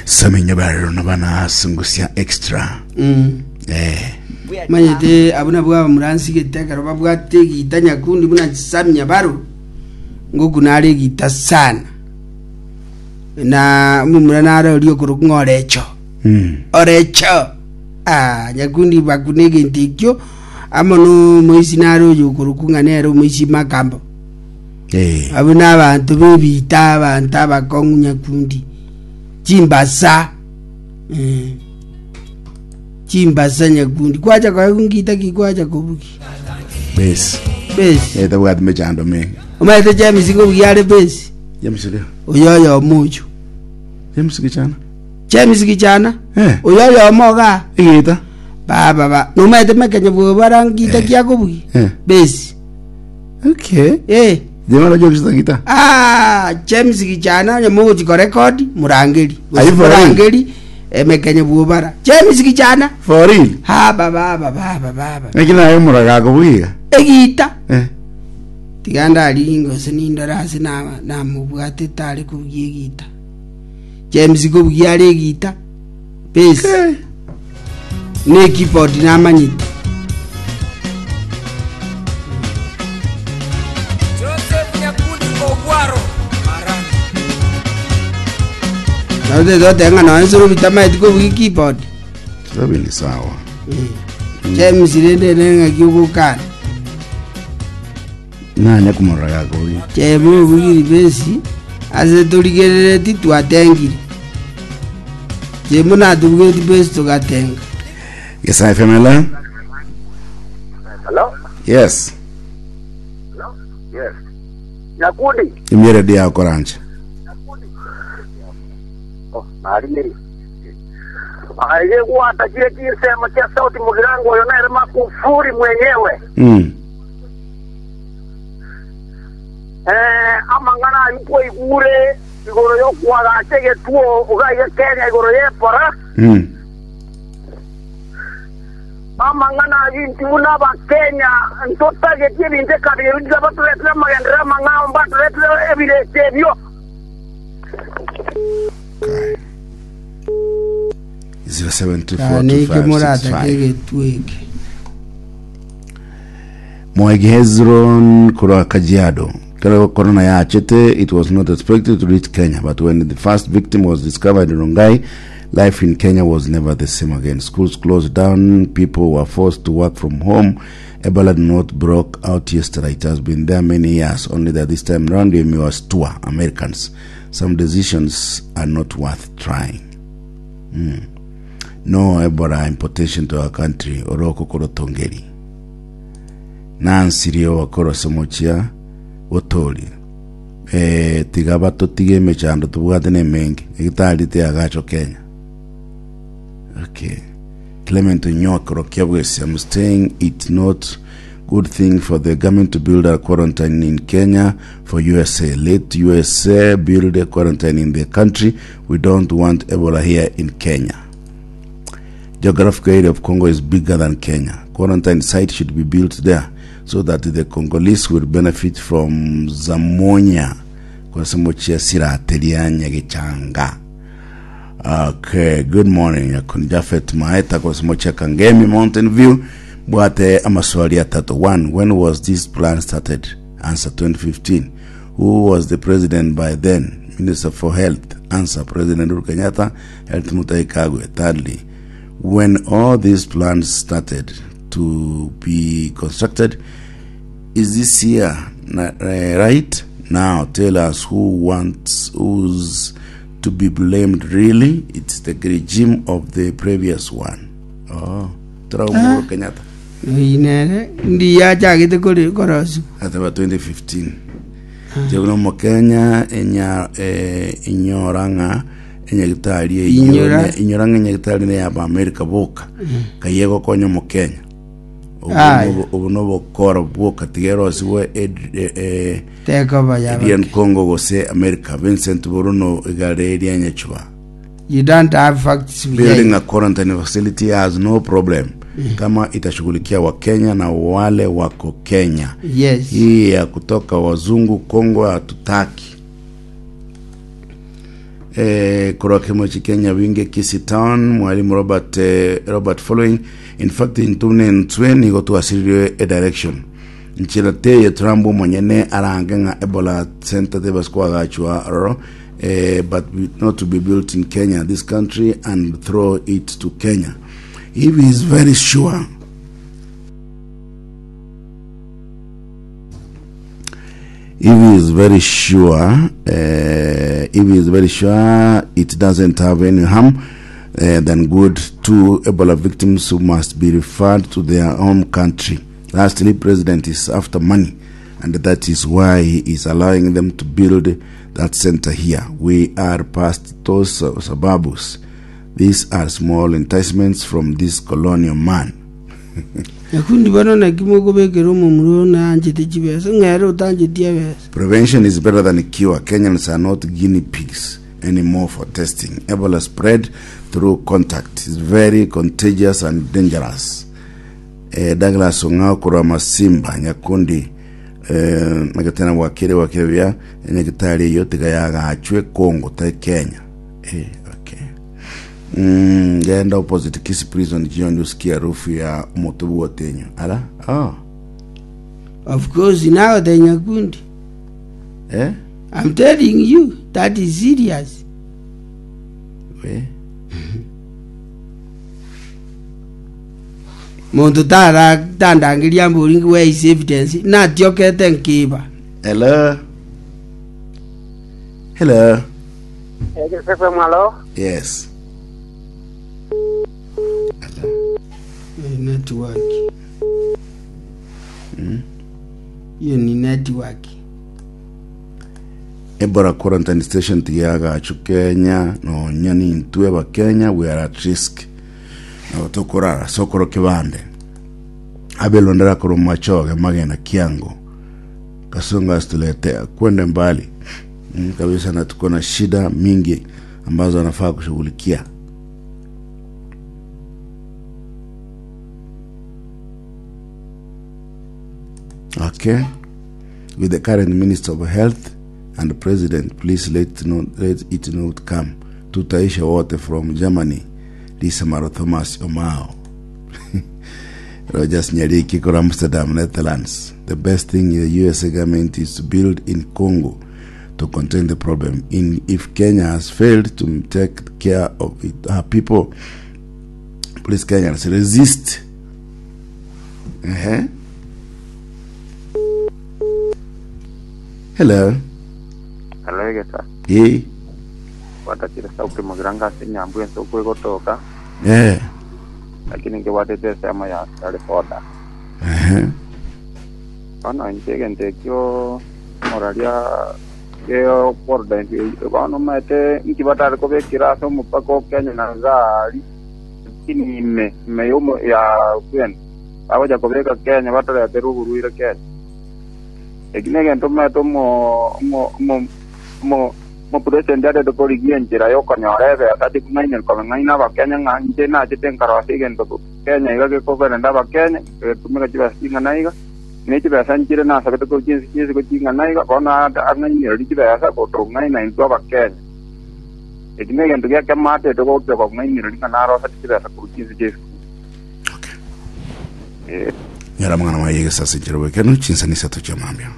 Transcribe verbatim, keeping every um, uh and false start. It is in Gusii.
Samenya barero na bana sungusia extra. Mm. Eh. Manyete abwo nabwo abamuransigete ekero babwate egita nyakundi buna chisamia baro ngokuna are egita sana na omomura nare oria okorokwa ng'a orecho Mm. orecho ah, nyakundi bakuna egento ekio amo nomoisi nare oyo okorokwa ng'a nere omoisi makambo Eh. abwo na abanto b'ebita abanto abakong'u nyakundi chimbasa eh. chimbasa nyakundi kwacha koegwa ngita ki kwacha kobugi Base. besi Eh tabwati mechando mingi. omaete James kobugi are besi James leo. oyo oyomo oyo James kichana. James kichana Eh. oyo oyomo iga Igita. baba ba nomaete mekenya bwobara ngita Eh. kiakobugi Eh. besi Okay. eh Jema la James gita. Ah, James kichana onye mogochi korekodi murangeri Are you for real? murangeri emekenya bwobara James kichana For real. ha baba baba baba Lakini nayo muraga kubugiga. egita Eh. tiga ndari gose nindore ase na- namobwatete are kobugia egita James kobugia are egita besi Okay. na ekeyboard namanyete Joseph Nyakundi Ogwaro Marani. naotete ng'a noe nsoro bitamaeti kobugia keyboard Sabi ni sawa. James rende ere ng'aki ogokana Nanya kumuraga kubugiga. James obugiri besi ase torigerereti twatengire James natobugeti besi togatenga Yes, I F M L. Hello? Yes. Yes. Nyakundi. Imire dia korancha. Oh, nari. Aige gwata kile kisema cha sauti mugirango oyo naye makufuri mwenyewe. Mm. Eh, amang'ana ayuko igure igoro yokwagache getuo ugaiye Kenya igoro yepora. Mm. Amang'ana ayinti buna abakenya ntotagetie ebinto ekabiri ebinto baturetire amagendera amang'ao mbaturetire ebirete ebio. Okay. Zero seven two four two neke five six moratake five. egetu eke Mwegi Hezron Kurwa Kajiado. Kero Corona yachete, it was not expected to reach Kenya, but when the first victim was discovered in Rongai, life in Kenya was never the same again. Schools closed down, people were forced to work from home. Ebola did not broke out yesterday. It has been there many years, only that this time round we was two Americans. Some decisions are not worth trying. No Ebola importation to our country. Oroko Korotongeri. Nancy Rio wakoro mochia otori eh tiga batotige emechando tobwate na emenge egitari teagacho Kenya. Okay. Clement Onyokoro Kiabwesi, I'm saying it's not good thing for the government to build a quarantine in Kenya for U S A. Let U S A build a quarantine in the country. We don't want Ebola here in Kenya. Geographical area of Congo is bigger than Kenya. Quarantine site should be built there so that the Congolese will benefit from Zamonia. Kwasemochia sirateria Nyagechanga. Okay, good morning. Yakun Jafet Maeta kwasemochia Kangemi Mountain View. Bwate amaswali atatu. One, when was this plan started? Answer, twenty fifteen. Who was the president by then? Minister for Health. Answer, President Uhuru Kenyatta, Health Mutahi Kagwe. Thirdly, when all these plans started to be constructed, is this year na- eh, right now? Tell us who wants who's to be blamed really. It's the regime of the previous one. Oh, tara Uhuru Kenyatta. Oyi nere ndi yachagete kore korosi Ataba twenty fifteen jekuno mokenya enya eh, inyora ng'a enyagitari eyio Inyora. ne- inyora ng'a enyagitari ne yaba America boka kaye gokonya omokenya. Obu Aye. nobo- obu nobokora bwoka tigerosiwe eh, tekoba yaba Indian Congo gose America. Vincent Boruno igare eria Nyachuba. You don't have facts Building behind. a quarantine facility has no problem kama itashughulikia Wakenya na wale wako Kenya. Yes. Hii ya kutoka wazungu Kongo hatutaki. Eh, korwa kemochi Kenya winge Kisii Town mwalimu Robert eh, Robert following in fact intune ntwe nigo twasiriwe a direction nchira teye Trump omonyene arange ng'a Ebola center tebaskwagachwa roro eh, but we- not to be built in Kenya this country and throw it to Kenya if he is very sure if he is very sure uh, if he is very sure it doesn't have any harm uh, then good two ebola victims who must be referred to their home country lastly president is after money and that is why he is allowing them to build that center here we are past those uh, suburbs these are small enticements from this colonial man Nyakundi bono naki mokobekera omomura one anchete chibesa ng'ere otanchetie ebesa Prevention is better than cure. Kenyans are not guinea pigs anymore for testing. Ebola spread through contact is very contagious and dangerous. Eh, Douglas Ong'ao korwa Masimba Nyakundi eh, magatena wakire wakire bia nyagitari eyo tiga yagachwe Congo ta Kenya. Eh, okay. Mm, genda opposite Kisii Prison jioni usikie harufu ya moto wotenyo. Ala? Oh. of course now the Nyakundi Eh? I'm telling you that is serious We. muntu tara tandangeria mbori where is evidence natiokete nkiba Hello. Hello. Egesefe mwalo Yes. Eh, network hiyo ni network Ebola quarantine station tiagachu Kenya nonya nintwe ba Kenya we are at risk. Nabo tokorara sokoro kibande. Abelondera koro machoge magena kiango. Kasonga asituletea kwende mbali. Mm, kabisa na tuko na shida mingi ambazo anafaa kushughulikia. Okay. With the current Minister of Health and President, please let, not, let it not come. Tutaisha wote from Germany. Lisa Maro Thomas Omao. Rogers Nyariki kora Amsterdam, Netherlands. The best thing the U S A government is to build in Congo to contain the problem. In if Kenya has failed to take care of it, her people, please Kenyans resist. Uh-huh. Hello. Alegesa Hey. watakire sauti mugiranga ase nyambu ense okwegotoka Yeah. lakini nkiwatete esemo ya askari boda Uh-huh. bono inche egento ekio moraria geoborda bono maete inki batari kobekera ase omopaka o Kenya na gari lakini ime ime yomo ya kwenda bagocha kobeka Kenya bataretera oborwaire Kenya eki na egento maete omo omo omo omo omopresident arete korigia enchera yokonyora ebesa tikung'aina kobeng'aina abakenya ng'a inche nachete nkarosa egento Kenya iga gekoberenda abakenya getumika chibesa ching'ana iga ne chibesa nchire nasabete ko chinsi chinsi ko ching'ana iga bono ang'ainereria chibesa gotong'aina intwe abakenya eki na egento giakematete gocha kong'ainereria ng'a narosete chibesa korwa chinsi chia esukuru Okay. eh. Nyara mwana wa yegesa sinjero wekenu chinsa ni sato cha mambia.